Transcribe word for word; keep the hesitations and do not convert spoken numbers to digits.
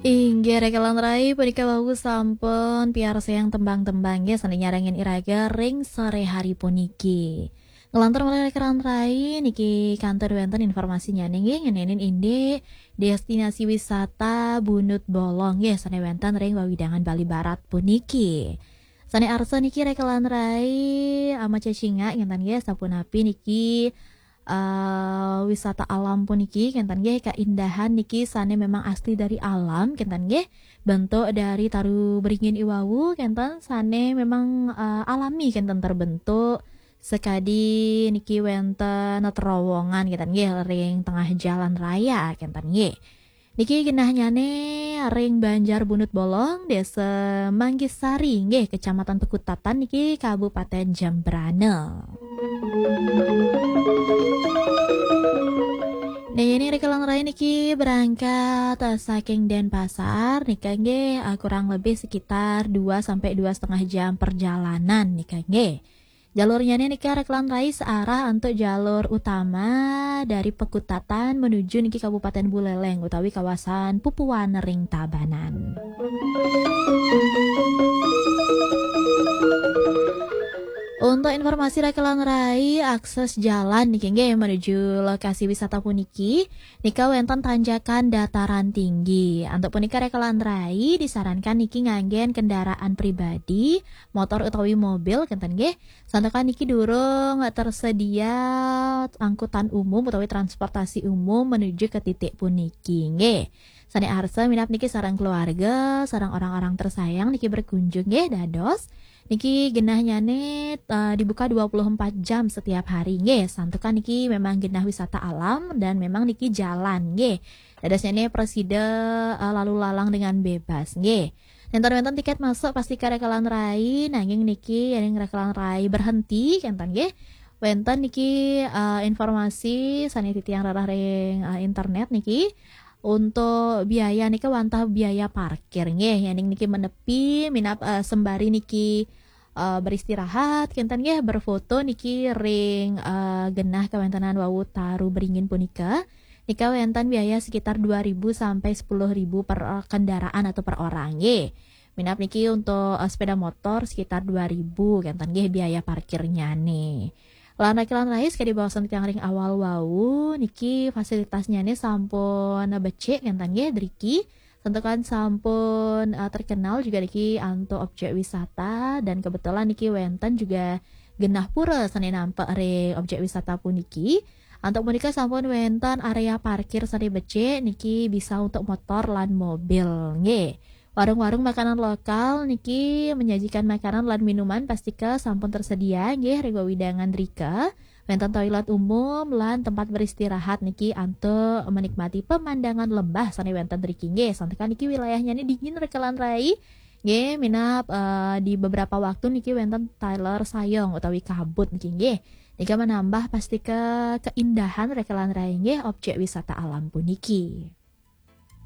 Inggih, rekan rai, punika wau sampun piarsayang tembang-tembang, nggih, sané nyarengin iraga ring sore hari puniki. Ngelantur malih rekan rai, niki kantun wénten informasinyané, nggih, ngenénin indik destinasi wisata Bunut Bolong, nggih, sané wénten ring wewidangan Bali Barat puniki. Sané arsa niki rekan rai, ama cecingak ngénten, nggih, sapunapi niki eh, wisata alam puniki, kénten nggih, keindahan niki sané memang asli dari alam, kénten nggih, bentuk dari taru beringin iwau, kénten sané memang, eh, alami, kénten terbentuk. Sekadi niki wénten terowongan, kénten nggih, ring tengah jalan raya, kénten nggih. Niki genahnyané ring Banjar Bunut Bolong, Désa Manggisari, nggih, Kecamatan Pekutatan niki, Kabupaten Jembrana. Nah, ini rekan rai niki berangkat, eh, saking Denpasar, nika nggih, eh, kurang lebih sekitar dua sampai dua setengah jam perjalanan, nika nggih. Jalurnyané nika rekan rai searah antuk jalur utama dari Pekutatan menuju niki Kabupaten Buleleng utawi kawasan Pupuan ring Tabanan. Untuk informasi rekan rai, akses jalan niki nggih menuju lokasi wisata puniki, nika wénten tanjakan dataran tinggi. Antuk punika rekan rai disarankan niki nganggén kendaraan pribadi, motor utawi mobil, kénten nggih. Santukan niki durung tersedia angkutan umum utawi transportasi umum menuju ke titik puniki, nggih. Sané arsa minab niki sareng keluarga, sareng orang-orang tersayang niki berkunjung, nggih, dados. Niki genahnyané, eh, dibuka dua puluh empat jam setiap hari, nggih. Santukan niki memang genah wisata alam dan memang niki jalan, nggih. Dadosnyané prasida, eh, lalu lalang dengan bebas, nggih. Nénten wénten tiket masuk pastika rekan rai, nanging niki yéning rekan rai berhenti, kénten nggih. Wénten niki, eh, informasi sané titiang rereh ring, eh, internet niki. Untuk biaya nika wantah biaya parkir nggih, yéning niki menepi minab, eh, sembari niki, eh, beristirahat, kénten nggih, berfoto niki ring, eh, genah kawéntenan wau taru beringin punika. Nika wénten biaya sekitar dua ribu sampai sepuluh ribu per, eh, kendaraan atau per orang nggih. Minab niki untuk, eh, sepeda motor sekitar dua ribu, kénten nggih biaya parkirnyané. Lan rekan rai, sakadi baosan tiang ring awal wau, niki fasilitasnyané sampun becik, kénten nggih, driki. Santukan sampun, eh, terkenal juga niki antuk objek wisata, dan kebetulan niki wénten juga genah pura sané nampek ring objek wisata puniki. Antuk punika sampun wénten area parkir sané becik, niki bisa untuk motor lan mobil, nggih. Warung-warung makanan lokal niki menyajikan makanan lan minuman pastika sampun tersedia, nggih, ring wewidangan drika. Wénten toilet umum lan tempat beristirahat niki antuk menikmati pemandangan lembah sané wénten driki, nggih. Santukan niki wilayahnyané dingin rekan rai. Nggih, minab, eh, di beberapa waktu niki wénten taler sayong utawi kabut niki, nggih. Nika menambah pastika keindahan rekan rai, nggih, objek wisata alam puniki.